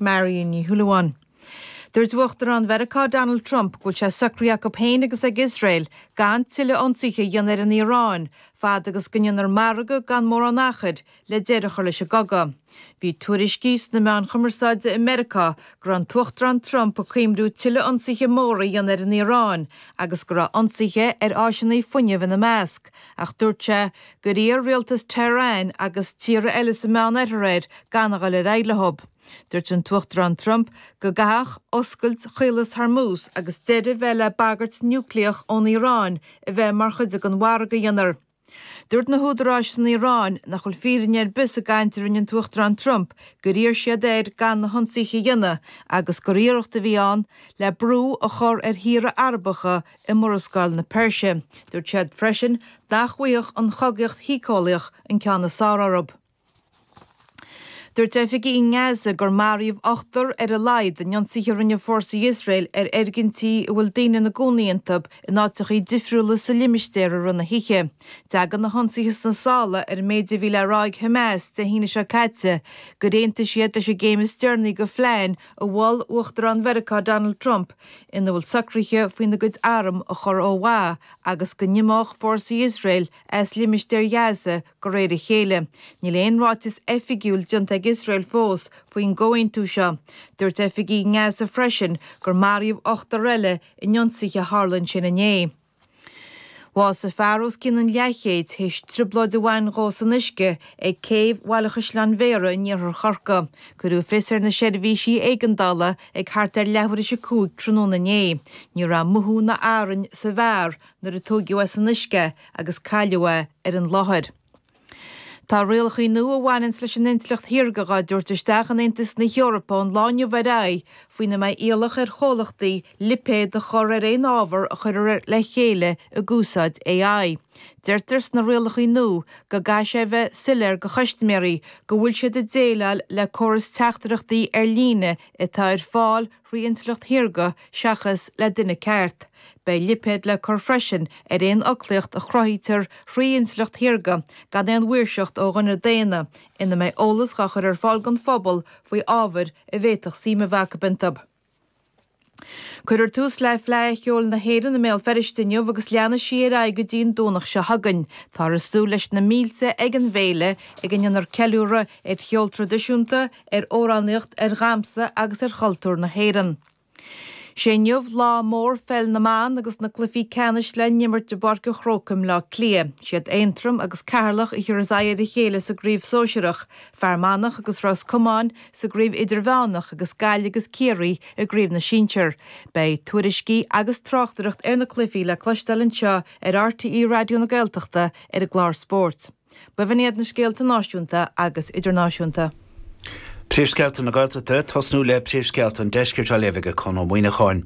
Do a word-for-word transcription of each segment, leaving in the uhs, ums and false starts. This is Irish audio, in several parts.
Marion Ní Shúilleabháin. Dúirt Uachtarán Mheiriceá Donald Trump go bhfuil sé socraithe acu féin agus ag Iosrael gan tuilleadh ionsaithe a dhéanamh ar an Iaráin, fad agus go ndéantar margadh gan mórán achair le deireadh a chur leis an gcogadh. Bhí tuairiscí sna meáin chumarsáide i Meiriceá go raibh an tUachtarán Trump ag cuimhniú tuilleadh ionsaithe móra a dhéanamh ar an Iaráin agus go raibh ionsaithe ar áiseanna fuinnimh ina measc, ach dúirt sé gur iarr rialtas Tehran agus tíortha eile sa Meánoirthear air gan a dhul ar aghaidh leo. Dúirt an tUachtarán Trump go gcaithfeadh oscailt Chaolas Hormuz agus deireadh a bheith le bagairt núicléach ón Iaráin a bheith mar chuid den mhargadh a dhéanfar. Dúirt na húdaráis san Iaráin nach bhfuil fírinne ar bith sa gcaint a rinne an tUachtarán Trump gur iarr siad air gan na hionsaithe a dhéanamh agus gur iarracht a bhí ann le brú a chur ar thíortha Arabacha i Murascaill na Peirse. Dúirt siad freisin nach bhfaigheadh an chogaíocht shíceolaíoch an ceann is fearr orthu. Dúirt oifigigh i nGaza gur maraíodh ochtar ar a laghad in ionsaithe a rinne fórsaí Iosrael ar fhoirgintí a bhfuil daoine ina gcónaí iontu in áiteacha difriúla sa limistéar i rith na hoíche. Tagann na hionsaithe sna sála ar an méid a bhí le rá ag Hamas Dé hAoine seo caite gur aontaigh siad leis an gcéim is deireanaí de phlean a mhol Uachtarán Mheiriceá Donald Trump ina bhfuil socruithe faoina gcuid arm a chur ó mhaith agus go n-imeodh fórsaí Iosrael as limistéar Ghaza de réir a chéile. Níl aon ráiteas oifigiúil déanta ag Iosrael fós faoin gcomhaontú seo. Dúirt oifigigh i nGaza freisin gur maraíodh ochtar eile in ionsaithe a tharla ansin inné. Bhásaigh fear os cionn an leathchéid théis trioblóid a bhain dhó san uisce ag céibh Bhaile Chaisleáin Bhéarra in iarthar Chorcaí. Cuireadh fios ar na seirbhísí éigeandála ag thart ar leathuair tar éis a cúig tráthnóna inné. Ní raibh mothú ná arraing sa bhfear nuair a tógadh é san uisce agus cailleadh é ar an láthair. Tá rialacha nua a bhaineann leis an intleacht shaorga á dtabhairt isteach in Aontas na hEorpa ón lá inniu ar aghaidh faoina mbeidh iallach ar chomhlachtaí lipéad a chur ar aon ábhar a chuirtear le chéile ag úsáid AI. Deirtear sna rialacha nua go gcaithfidh sé bheith soiléir do chustaiméirí go bhfuil siad ag déileáil le córas teachtaireachtaí ar líne atá ar fáil thrí intleacht shaorga seachas le duine ceart. Beidh lipéad le cur freisin ar aon fhoclaíocht a chruthaítear thrí intleacht shaorga gan aon mhaoirseacht ó dhuine daonna ina mbeidh eolas á chur ar fáil don phobal faoi ábhair a bhféadfadh suim a bheith acu iontu. Cuirfear tús le Fleadh Cheoil na hÉireann i mBéal Feirste inniu agus leanfaidh sí ar aghaidh go dtí an Domhnach seo chugainn. Táthar ag súil leis na mílte ag an bhféile ag a ndéanfar ceiliúradh ar cheol traidisiúnta, ar amhránaíocht, ar dhamhsa agus ar chultúr na hÉireann. Sé inniu lá mór pheil na mban agus na cluichí ceannais le n-imirt i bPáirc an Chrócaigh i mBleá Cliath. Siad Aontroim agus Ceatharlach a thiúrfas aghaidh ar a chéile sa gcraobh sóisearach, Fear Manach agus Ros Comáin sa gcraobh idirmheánach agus Gaillimh agus Ciarraí i gcraobh na sinsear. Beidh tuairiscí agus tráchtaireacht ar na cluichí le cloisteáil anseo ar RTÉ Raidió na Gaeltachta ar an gclár spóirt. B'in iad na scéalta náisiúnta agus idirnáisiúnta. Príomhscéalta na Gaeltachta tosnú le príomhscéalta an deiscirt á léamh ag Conn Ó Muíneacháin.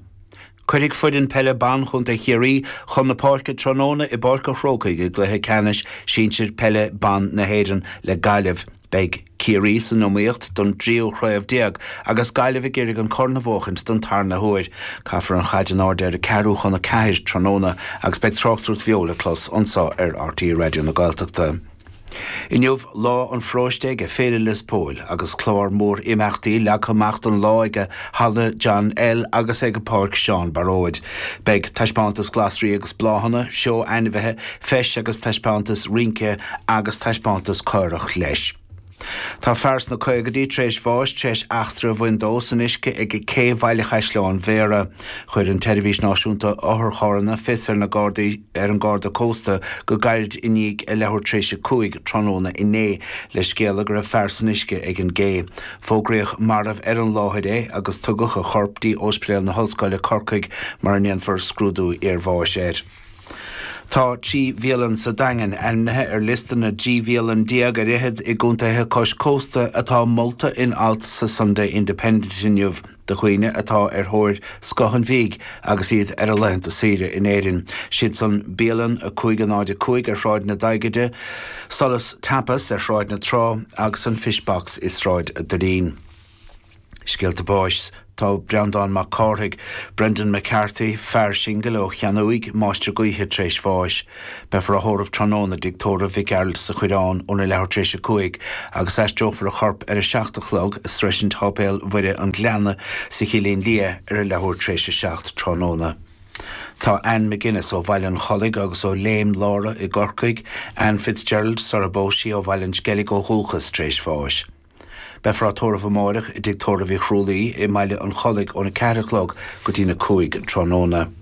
Cuirfidh foireann peile ban Chontae Chiarraí chun na páirce tráthnóna i bPáirc an Chrócaigh i gcluiche ceannais sinsir peile ban na hÉireann le Gaillimh. Beidh Ciarraí san iomaíocht don tríú chraobh déag agus Gaillimh ag iarraidh an corn a bhuachaint don tarna huair. Caithfear an chaid in airde ar a ceathrú chun a ceathair tráthnóna agus beidh tráchtaireacht bheo le clos anseo ar RTÉ Raidió na Gaeltachta. Inniu lá an pharóiste ag Féile Lios Póil agus clár mór imeachtaí leagtha amach don lá ag Halla John L agus ag Páirc Seán Baróid. Beidh taispeántas glasraí agus bláthanna, seó ainmhithe, feis agus taispeántas rince agus taispeántas caorach leis. Tá fear sna caogaidí tar éis bháis tar éis eachtra a bhain dó san uisce ag cé Bhaile Chaisleáin Bhéarra. Chuir an tSeirbhís Náisiúnta Otharcharranna fios ar na Gardaí ar an Garda Cósta go gairid i ndiaidh a leathuair tar éis a cúig tráthnóna inné le scéala go raibh fear san uisce ag an gcé. Fógraíodh marbh ar an láthair é agus tugadh a chorp dtí Ospidéal na hOllscoile Corcaigh mar a ndéanfar scrúdú iarbháis air. Tá trí bhialann sa Daingean ainmnithe ar liosta na dtrí bhialann déag ar fhichead i gcontaetha cois cósta atá molta in alt sa Sunday Independent inniu do dhaoine atá ar thóir scoth an bhídh agus iad ar a laethanta saoire in Éirinn. Siad san bialann a cúig a náid a cúig ar Shráid na Daighide, Solas Tapas ar Shráid na Trá agus an Fishbox i Sráid Doirín. Scéalta báis tá Breandán Mac Cárthaigh, Brendan McCarthy, fear singil ó Cheannúig, máistir gaoithe tar éis bháis. Beifear á thórramh tráthnóna i dtigh tórraimh Mhic Gearailt sa Choireán óna leathuair tar éis a cúig agus aistreofar a chorp ar a seacht a chlog i sroisint Sháipéal Mhuire an Ghleanna sa Chillín Liath ar a leathuair tar éis a seacht tráthnóna. Tá Anne McGuinness ó Bhaile an Chollaigh agus ó Léim Lára i gCorcaigh, Anne Fitzgerald sara bpós sí ó Bhaile an Sceilg ó dhúchas tar éis bháis. Beifear á tórramh amárach i dtigh tórraimh Uí Chrualaoi i mBaile an Chollaigh óna ceathair a chlog go dtína cúig tráthnóna.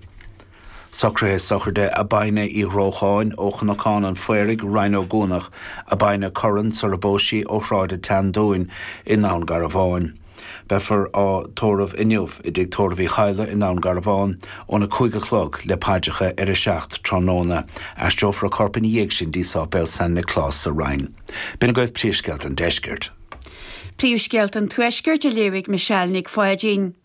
Socruithe sochraide Abina Uí Ghrócháin ó Chnocán an Phaoraigh, Rinn Ó gCuanach, Abina Curran sara bpós sí ó Shráid an tSeandúin i nDún Garbhán. Beifear á tórramh inniu i dtigh tórraimh Uí Chadhla i nDún Garbhán óna cúig a chlog le paidreacha ar a seacht tráthnóna. Aistreofar a corp ina dhiaidh sin dtí Sáipéal San Nioclás sa Rinn. B'in agaibh príomhscéalta an deiscirt. Príomhscéalta an Tuaiscirt á léamh ag Michelle Nic Pháidín.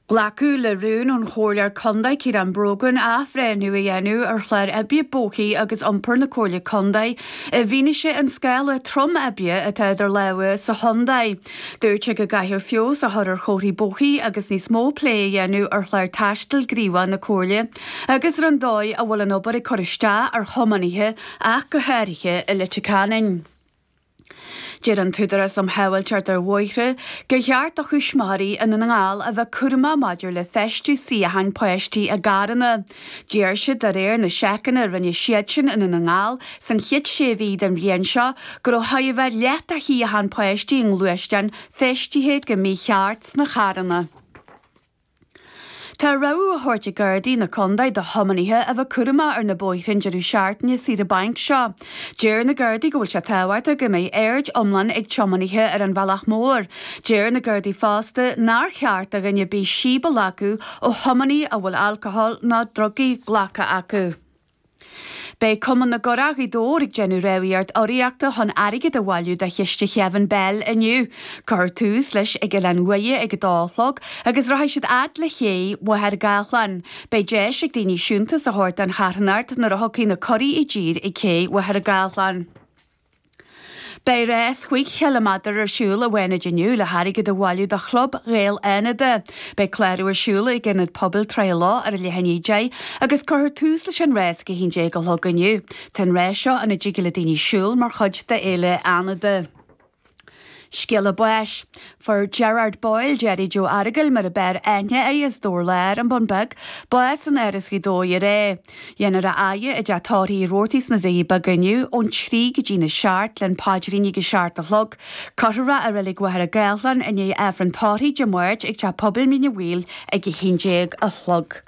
Glacadh le rún ón Chomhairleoir Contae Ciarán Brogan athbhreithniú a dhéanamh ar chlár oibre bóithre agus iompair na Comhairle Contae i bhfianaise an scála trom oibre atá idir lámha sa chontae. Dúirt sé go gcaithfear feabhas a chur ar chomharthaí bóithre agus níos mó plé a dhéanamh ar chlár taistil gníomhach na Comhairle agus ar an dóigh a bhfuil an obair ag cur isteach ar thiománaithe ach go háirithe i Leitir Ceanainn. Deir an tÚdarás um Shábháilteacht ar Bhóithre gur cheart do thuismitheoirí i nDún na nGall a bheith cúramach maidir le feistiú suíocháin páistí i gcarranna. Deir siad de réir na seiceanna a rinne siadsin i nDún na nGall san chéad sé mhí den bhliain seo go raibh chóir a bheith leath de shuíocháin páistí i ngluaisteáin feistithe go mícheart sna carranna. Tá rabhadh á thabhairt ag Gardaí na Contae do thiománaithe a bheith cúramach ar na bóithre an deireadh seachtaine saoire bainc seo. Deir na Gardaí go bhfuil sé tábhachtach go mbeidh aird iomlán ag tiománaithe ar an bhealach mór. Deir na Gardaí fosta nár cheart do dhuine ar bith síob a ghlacadh ó thiománaí a bhfuil alcól nó drugaí glactha acu. Beidh Cumann na gCurach Ghaoth Dobhair ag déanamh rámhaíocht urraíochta chun airgead a bhailiú do chiste Kevin Bell inniu. Cuirfear tús leis ag Oileán Uaighe ag a dó a chlog agus rachaidh siad fhad le cé Mhachaire Gathlán. Beidh deis ag daoine siúntas a thabhairt don charthanacht nuair a thiocfaidh na curaí i dtír ag cé Mhachaire Gathlán. Beidh rás chúig chiliméadar ar siúl i bhFánaid inniu le hairgead a bhailiú do Chlub Ghaeil Fhánada. Beidh clárú ar siúl ag Ionad Pobail Trá Loch ar a leath i ndiaidh a deich agus cuirfear tús leis an rás ag a haon déag a chlog inniu. Tá an rás seo ina dtig le daoine siúl mar chuid d'Fhéile Fhánada. Scéala báis. Fuair Gerard Boyle Jerry Joe Aragail mar ab fhearr aithne air as Dobhar Láir an Bun Beag, bás in Áras Ghaoth Dobhair aréir. Dhéanfar a fhaire i dteach tórraimh Uí Robhartaigh sna Doirí Beaga inniu ón trí go dtí na seacht le paidríní ag a seacht a chlog. Cuirfear é i reilig Mhachaire Gathlán i ndiaidh Aifreann tórraimh Dé Máirt ag teach pobail Mín an Mhaoil ag a haon déag a chlog.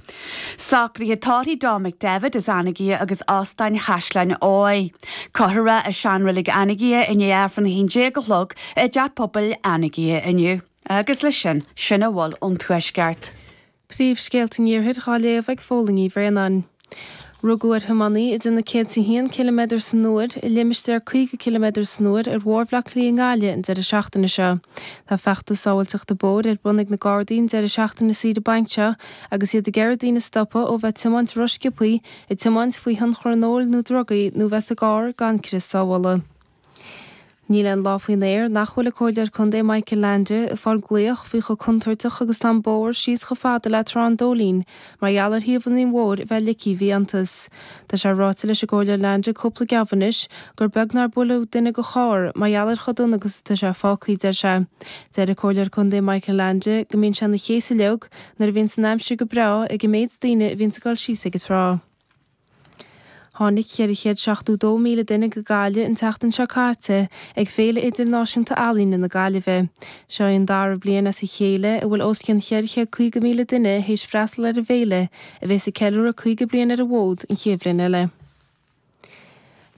Socruithe tórraimh Dom McDevitt as Anagaire agus Óstán Chaisleán Ádhaimh. Cuirfear é i seanreilig Anagaire i ndiaidh Aifreann a haon déag a chlog i dteach pobail Anagaire inniu. Agus leis sin, sin a bhfuil ón Tuaisceart. Príomhscéalta an Iarthair á léamh ag Fódhla Ní Bhraonáin. Rugadh ar thiománaí a déanamh céad is a haon ciliméadar san uair i limistéar caoga ciliméadar san uair ar Bhóthar Bhaile Átha Cliath i nGaillimh an deireadh seachtaine seo. Tá feachtas sábháilteachta bóthair ar bun ag na Gardaí an deireadh seachtaine saoire bainc seo agus iad ag iarraidh daoine stopadh ó bheith tiomáint rósciobtha, ag tiomáint faoi thionchar an óil nó drugaí nó bheith sa gcarr gan crios sábhála. Níl aon lá faoin aer nach bhfuil an Comhairleoir Contae Michael Leainde ag fáil glaoch faoi chomh contúirteach agus tá an bóthar síos chomh fada le Trá an Dóilín mar gheall ar thaobh an mhór a bheith ligthe i bhfiántas. Tá sé ráite leis an gComhairleoir Leainde cúpla geábh anois gur beag nár buaileadh duine de charr mar gheall ar chomh dona agus atá sé fágtha, deir sé. Deir an Comhairleoir Contae Michael Leainde go mbíonn sé ina chéasadh uilig nuair a bhíonn an aimsir go breá ag an méid daoine a bhíonn ag dul síos ag an trá. Tháinig ceithre chéad seachtó dó míle duine go Gaillimh an tseachtain seo caite ag Féile Idirnáisiúnta Ealaíne na Gaillimhe. Seo í an dara bliain as a chéile a bhfuil os cionn cheithre chéad caoga míle duine théis freastal ar an bhféile a bheas ag ceiliúradh caoga bliain ar an bhfód an chéad bhliain eile.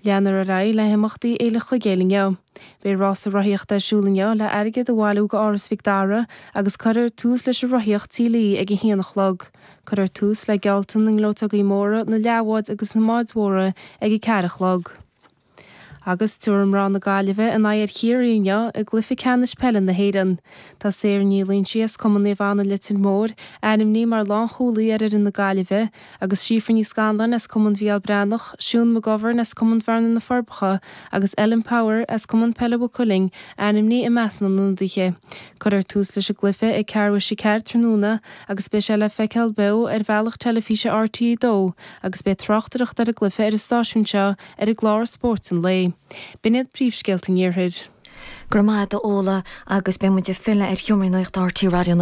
Leanfar ar aghaidh le himeachtaí Fhéile Chuigéil inniu. Beidh rása rothaíochta ar siúl inniu le airgead a bhailiú go Áras Mhic Dara agus cuirfear tús leis an rothaíocht tí Lee ag a haon a chlog. Cuirfear tús le gealltan na ngleoiteogaí móra, na leathbháid agus na mbáid mhóra ag a ceathair a chlog. Agus tabharfaidh mná na Gaillimhe a n-aghaidh ar Chiarraí inniu i gcluiche ceannais peile na hÉireann. Tá Sarah Ní Loingsigh as Cumann Naomh Anna Leitir Móir ainmnithe mar lánchúlaí ar fhoireann na Gaillimhe agus Síofra Ní Scanláin as Cumann Mhícheál Breathnach, Siún McGovern as Cumann Bhearna na Forbacha agus Ellen Power as Cumann Peile Mhaigh Cuilinn ainmnithe i measc na n-ionadaithe. Cuirfear tús leis an gcluiche ag ceathrú tar éis a ceathair tráthnóna agus beidh sé le feiceáil beo ar bhealach teilifíse RTÉ dó agus beidh tráchtaireacht ar an gcluiche ar an stáisiún seo ar an gclár Spórt an Lae. B'in iad príomhscéalta an Iarthair. Go raibh maith agat a Fhódhla agus beidh muid ag filleadh ar sheomraí nuachta RTÉ Raidió na